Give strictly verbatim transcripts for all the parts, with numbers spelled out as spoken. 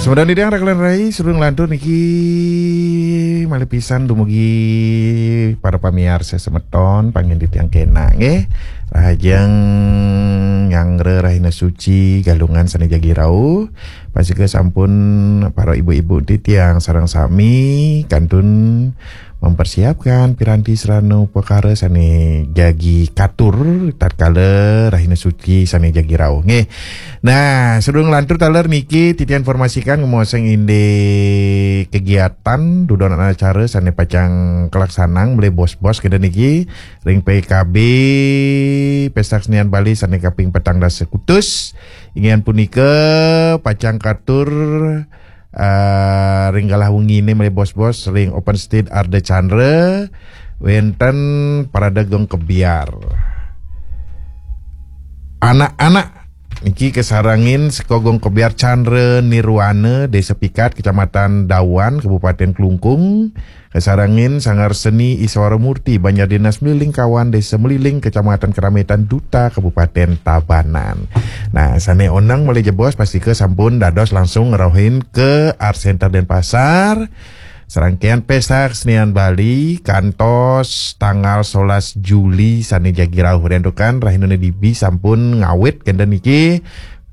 Semeton titiang, raka lan rai, sadurung lantur niki malih pisan dumugi para pamiarsa semeton, pangin titiang kena nggih. Rahajeng nyanggra rahina suci Galungan sane jagi rauh. Pastika sampun para ibu-ibu titiang sareng sami kantun mempersiapkan piranti sarana upakara sane jagi katur tatkala rahina suci sane jagi rauh nggih. Nah, sadurung lantur taler niki titiang informasikan ngemaosang indik kegiatan dudonan acara sane pacang kalaksanang malih bos-bos kenten niki ring P K B Pesta Kesenian Bali sane kaping petang dasa kutus. Inggih punika pacang katur eh, ring galah wengine malih bos-bos ring Open Stage Ardha Chandra wenten parade gong kebyar. Anak-anak niki kasarengin seka gong kebyar Chandra Nirwana, Desa Pikat, Kecamatan Dawan, Kabupaten Klungkung, kasarengin Sanggar Seni Iswara Murti, Banjar Dinas Meliling Kawan, Desa Meliling, Kecamatan Kerametan, Duta, Kabupaten Tabanan. Nah, sane oneng malih jebos pastika sampun dados langsung ngrauhin ke Art Center Denpasar. Serangkaian Pesta Kesenian Bali kantos tanggal solas Juli sane jagi rauh. Rentukan rahinane dibi sampun ngawit kenten niki.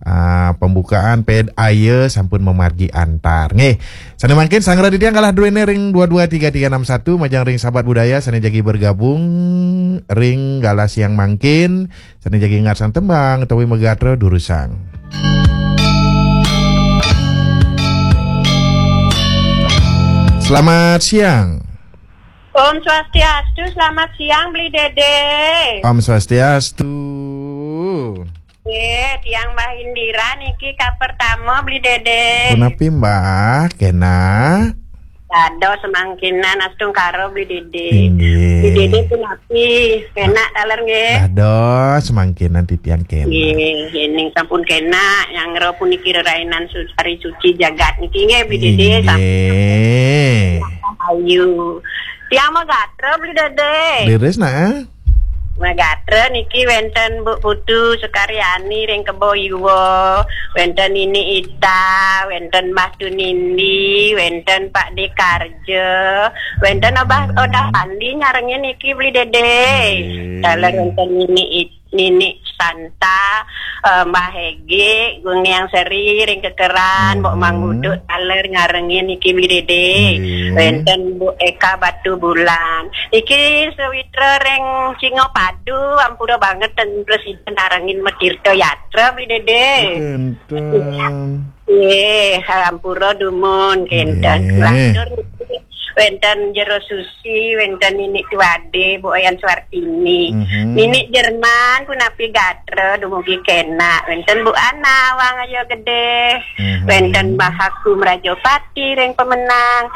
Ah, pembukaan ped aya sampun mamargi antar. Nggih. Sane mangkin sanggra titiang galah druene ring dua dua tiga tiga enam satu, majeng ring sahabat budaya sane jagi bergabung ring galah siang mangkin, sane jagi ngarsang tembang utawi magatra durusang. Selamat siang. Om Swastiastu, selamat siang Beli Dede. Om Swastiastu. Eh, tiang Mbah Indira niki ka pertama Beli Dede. Punapi Mbah, kena? Dados semangkinan astungkara Beli Dede. Inggih. Beli Dede punapi, kena taler nggih? Dados semangkinan titiang kena. Nggih, yening sampun kena, nyanggra puniki rerainan su-, hari suci jagat niki nggih Beli Dede. Inggih. Ayu. Tiang magatra Beli Dede. Leres nah. Magatra niki wenten Bu Putu Sukaryani ring Kebo Iwa, wenten Nini Ita, wenten Mbah Tunindi, wenten Pak Dekarja, wenten Abah Odah Pandi nyarengin niki Beli Dede. Nggih. Taler wenten Nini It-, Nini Santa, eh, Mbah Hege, Gung Niang Seri ring Kekeran, Mbok Mang Uduk taler nyarengin niki Beli Dede. Nggih. Wenten Bu Eka Batu Bulan. Iki sawitra ring Singapadu, ampura banget ten presiden narengin matirta yatra Beli Dede. Enten. Nggih, ampura dumun kenten. Nggih. Lantur niki wenten Jero Susi, wenten Nini Tuade, Bu Oyan Suartini. Mhm. Nini Jerman punapi gatra dumugi kena. Wenten Bu Ana Wang Ayo Gede. Mhm. Wenten Mahaku Mrajapati ring Pemenang.